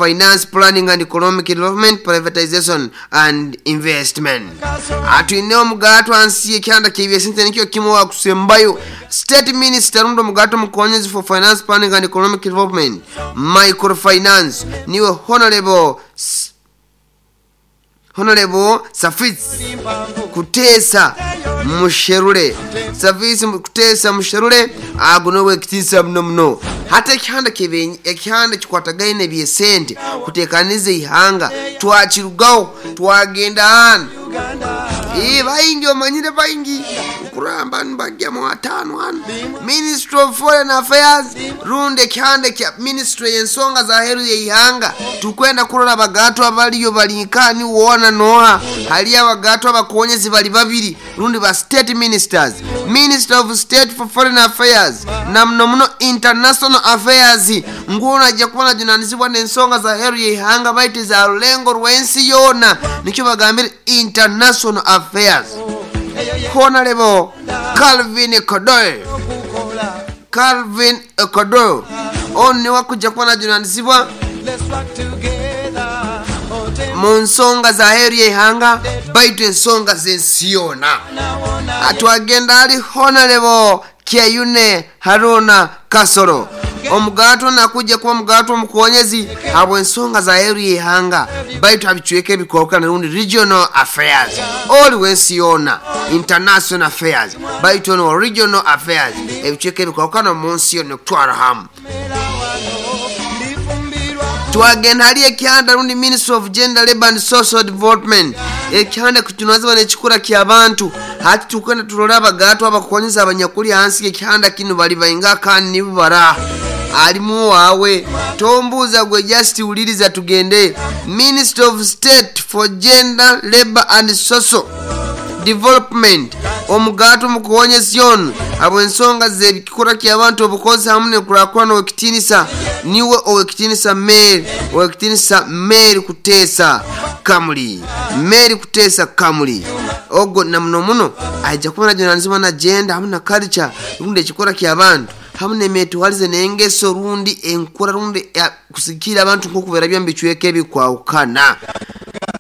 Finance, Planning and Economic Development, Privatization and Investment. Atwine omugato ansi ekyanda ky'ebyesente nikyo kimu wakusembayo State Minister rundi omugato mukonyezi for Finance, Planning and Economic Development, Microfinance, niwe Honorable Safits Kuteesa Musherure. Safits Kuteesa Musherure ago nowe ekitiisa muno muno. Hati ekihanda kebe ekihanda kikwatagaine ebyesente kutekaniza ihanga, twakirugaho twagenda hano. Baingi omanyire baingi kuramba nibajyamu 5 hano. Ministry of Foreign Affairs rundi ekihanda kya ministry y'ensonga za heru y'ihanga, tukwenda kurora abagato abaliyo balinkani wona noha. Hali abagato abakonyezi bali babiri rundi ba state ministers, Minister of State for Foreign Affairs na muno muno International Affairs, nguno ajja kuba najunanizibwa n'ensonga za heru y'ihanga baitu za rulengo rw'ensi yona, nikyo bagambire International Affairs. Honorable Calvin Kodoy, Calvin Kodoy ono niwe akujja kuba najunanizibwa mu nsonga za heru y'ihanga baitu ensonga z'ensi yona. Atwagenda ali Honorable Kyeyune Haruna Kasoro, omugato nakujja kuba omugato omukonyezi habwa ensonga za heru y'ihanga baitu abicweka ebikwawukana rundi regional affairs, oli w'ensi yona international affairs baitu ono regional affairs, ebicweka ebikwawukana mu nsi yona okutwara hamu. Twagenda hali ekyanda rundi Ministry of Gender, Labor and Social Development, ekyanda kutunazibwa n'ekikura ky'abantu. Hati tukwenda turora abagato abakonyeza abanyakuli hansi ekyanda kino bali bainga kandi nibo bara alimu wawe tombuuza gwe just wuliriza tugende. Ministry of State for Gender, Labor and Social Development, omugato mukonyezi ono habw'ensonga z'ebikura ky'abantu obukozi hamu n'enkurakurana ow'ekitiinisa niwe ow'ekitiinisa Mary, ow'ekitiinisa Mary Kuteesa Kamuli, Mary Kuteesa Kamuli ogo na muno muno aija kuba najunanizibwa na gender hamu na culture rundi ekikura ky'abantu hamu n'emetwalize n'engeso rundi enkura rundi kusikira abantu nk'okubeera byo mu bicweka ebikwawukana.